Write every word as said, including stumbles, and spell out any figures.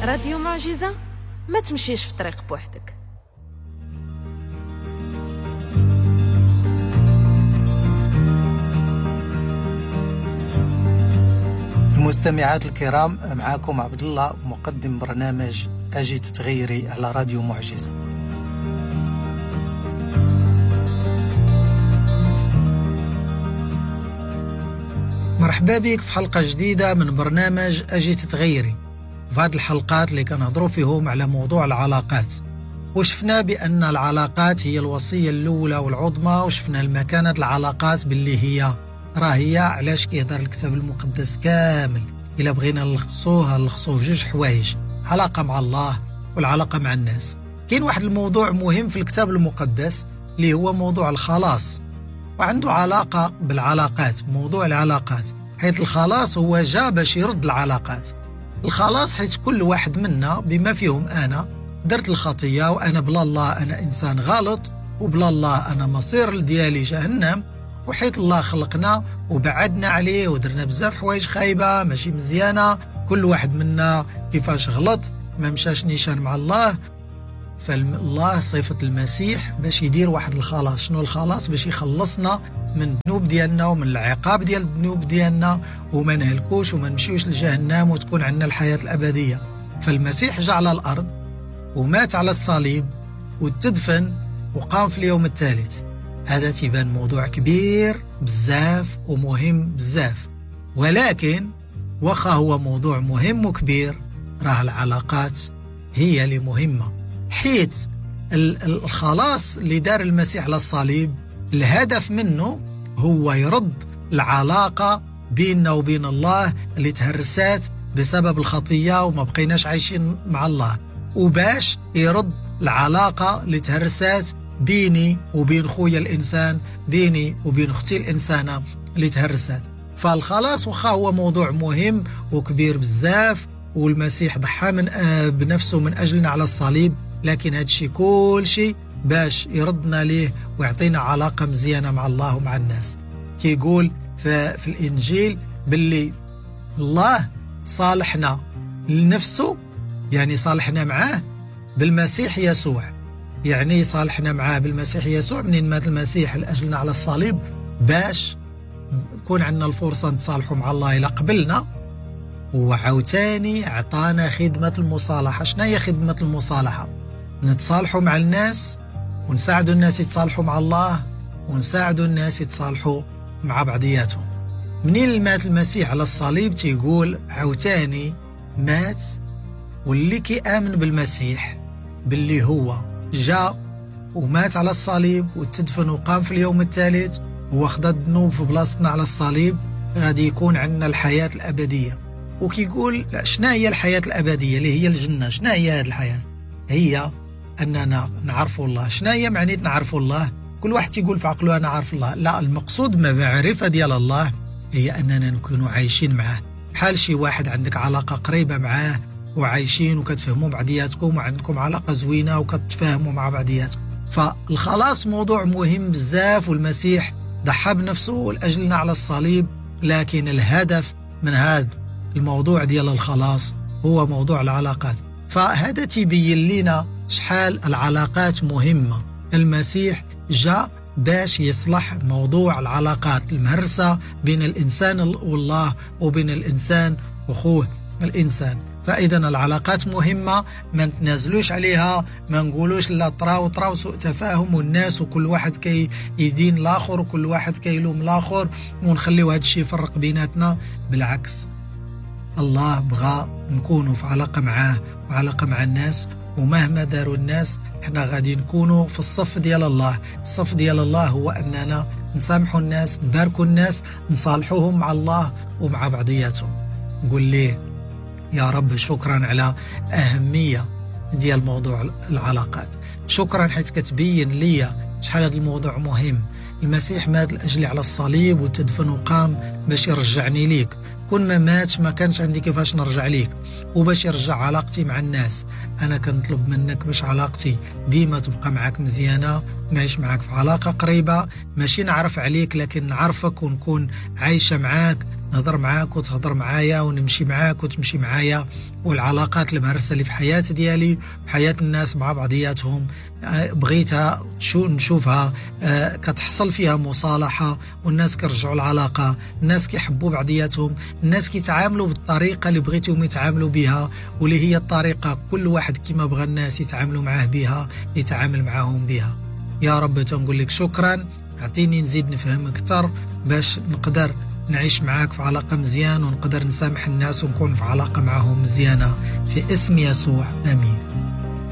راديو معجزة، ما تمشيش في طريق بوحدك. المستمعات الكرام، معاكم عبد الله مقدم برنامج أجي تتغيري على راديو معجزة. مرحبا بك في حلقة جديدة من برنامج أجي تتغيري. في هذه الحلقات اللي كنهضروا فيهم على موضوع العلاقات، وشفنا بأن العلاقات هي الوصية الأولى والعظمى، وشفنا المكانة العلاقات باللي هي راه هي علاش كيهضر الكتاب المقدس كامل. إلا بغينا نلخصوها نلخصوه في جوج حوايج: علاقة مع الله والعلاقة مع الناس. كاين واحد الموضوع مهم في الكتاب المقدس اللي هو موضوع الخلاص، وعنده علاقة بالعلاقات، موضوع العلاقات، حيث الخلاص هو جا باش يرد العلاقات. الخلاص حيث كل واحد منا بما فيهم أنا درت الخطية، وأنا بلا الله أنا إنسان غلط، وبلا الله أنا مصير ديالي جهنم، وحيث الله خلقنا وبعدنا عليه ودرنا بزاف حوايج خايبة ماشي مزيانة، كل واحد منا كيفاش غلط ما مشاش نيشان مع الله. فالله صيفط المسيح باش يدير واحد الخلاص. شنو الخلاص؟ باش يخلصنا من الذنوب ديالنا ومن العقاب ديال الذنوب ديالنا، وما نهلكوش وما نمشيوش لجهنم، وتكون عندنا الحياة الأبدية. فالمسيح جاء على الأرض ومات على الصليب وتدفن وقام في اليوم الثالث. هذا تيبان موضوع كبير بزاف ومهم بزاف، ولكن واخا هو موضوع مهم وكبير، راه العلاقات هي اللي مهمة. حيث الخلاص اللي دار المسيح على الصليب الهدف منه هو يرد العلاقة بيننا وبين الله اللي تهرسات بسبب الخطية وما بقيناش عايشين مع الله، وباش يرد العلاقة اللي تهرسات بيني وبين خويا الإنسان، بيني وبين أختي الإنسانة اللي تهرسات. فالخلاص وخا هو موضوع مهم وكبير بزاف، والمسيح ضحى من بنفسه من أجلنا على الصليب، لكن هادشي كل شيء باش يردنا ليه ويعطينا علاقة مزيانة مع الله ومع الناس. كيقول في, في الإنجيل باللي الله صالحنا لنفسه، يعني صالحنا معاه بالمسيح يسوع، يعني صالحنا معاه بالمسيح يسوع منين مات المسيح لأجلنا على الصليب، باش يكون عندنا الفرصة نتصالحوا مع الله إلى قبلنا. وعاوتاني عطانا خدمة المصالحة. شنو هي خدمة المصالحة؟ نتصالحوا مع الناس ونساعدوا الناس يتصالحوا مع الله، ونساعدوا الناس يتصالحوا مع بعضياتهم. منين مات المسيح على الصليب تيقول عاوتاني مات، واللي كيآمن بالمسيح باللي هو جاء ومات على الصليب وتدفن وقام في اليوم الثالث وخد الذنوب في بلاصتنا على الصليب، غادي يكون عندنا الحياة الأبدية. وكيقول شنو هي الحياة الأبدية اللي هي الجنة؟ شنو هي هذه الحياة؟ هي أننا نعرف الله. شنو هي معنيت نعرف الله؟ كل واحد تيقول في عقله أنا عارف الله. لا، المقصود بمعرفة ديال الله هي أننا نكونوا عايشين معاه، بحال شي واحد عندك علاقة قريبة معاه وعايشين وكتفهموا بعضياتكم وعندكم علاقة زوينة وكتفاهموا مع بعضياتكم. فالخلاص موضوع مهم بزاف، والمسيح ضحى بنفسه لأجلنا على الصليب، لكن الهدف من هذا الموضوع ديال الخلاص هو موضوع العلاقات. فهذا تبين لنا شحال العلاقات مهمة. المسيح جاء باش يصلح موضوع العلاقات المهرسة بين الإنسان والله وبين الإنسان وخوه الإنسان. فإذا العلاقات مهمة، ما نتنازلوش عليها، ما نقولوش لا طراو طراو سوء تفاهم والناس وكل واحد كي يدين الآخر وكل واحد كيلوم الآخر ونخليو هذا الشيء يفرق بيناتنا. بالعكس، الله بغى نكونوا في علاقة معاه وعلاقة مع الناس، ومهما داروا الناس احنا غادي نكونوا في الصف ديال الله. الصف ديال الله هو أننا نسامحوا الناس، نباركوا الناس، نصالحوهم مع الله ومع بعضياتهم. نقول ليه يا رب شكرا على أهمية ديال موضوع العلاقات، شكرا حيث كتبين لي شحال هذا الموضوع مهم. المسيح مات لأجلي على الصليب وتدفن وقام باش يرجعني ليك. كون ما ماتش ما كانش عندي كيفاش نرجع ليك، وباش يرجع علاقتي مع الناس. أنا كنطلب منك باش علاقتي ديما تبقى معك مزيانة، نعيش معك في علاقة قريبة، ماشي نعرف عليك لكن نعرفك ونكون عايشة معاك نهضر معاك وتهضر معايا ونمشي معاك وتمشي معايا، والعلاقات المهرسة اللي في حياة ديالي في حياة الناس مع بعضياتهم بغيتها شو نشوفها كتحصل فيها مصالحة، والناس كيرجعوا العلاقة، الناس كيحبوا بعضياتهم، الناس كيتعاملوا بالطريقة اللي بغيتهم يتعاملوا بها، واللي هي الطريقة كل واحد كما بغى الناس يتعاملوا معاه بها يتعامل معاهم بها. يا رب تنقول لك شكرا، اعطيني نزيد نفهم أكثر باش نقدر نعيش معاك في علاقة مزيان، ونقدر نسامح الناس ونكون في علاقة معهم مزيانة، في اسم يسوع آمين.